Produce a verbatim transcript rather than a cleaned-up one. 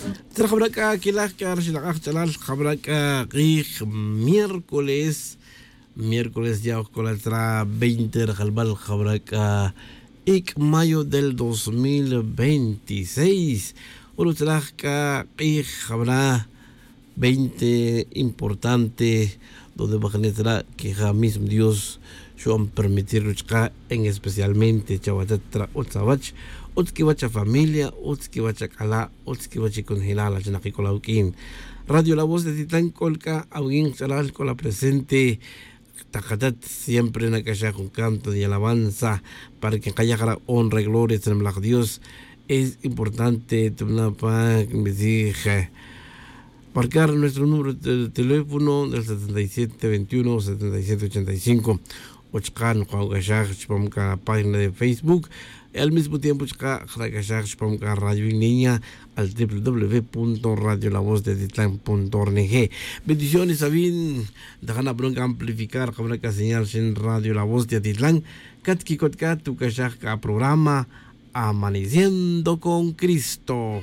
Tzra jabra' c'a quilaj c'a raxilak'aj ch'alal jabra' c'a k'ij miércoles. Miércoles ya oj c'ola tzra veinte rajalbal jabra' c'a ic' mayo del dos mil veintiséis. Oro tzra c'a k'ij jabra' veinte importante donde bajne tzra' que ja mismo dios xu'an permitir ruchka' en especialmente chawatat tzra' utz awach, utz quiwach afamilia, utz quiwach ac'ala', utz quiwach iconjelal achnak ic'ol awuq'uin. Radio la voz de titlan c'ol c'a awuq'uin kach'alal c'ol apresente. Takatat siempre nac'axaj jun canto de alabanza para que nkaya' jara' honra y gloria tzra' mlaj dios. Es importante tubna' pa nbizij marcar nuestro número de teléfono del setenta y siete veintiuno setenta y siete ochenta y cinco. O chaka' nokawac'axaj chupam c'a página de facebook. Al mismo tiempo chaka' jnac'axaj chupam c'a radio en línea al triple w punto radio la voz de titlan punto org. Bendiciones avin. Ntaja' nabron c'a amplificar jabra' c'a señal xin radio la voz de titlan. Catquicot c'a tuc'axaj c'a programa amaneciendo con cristo.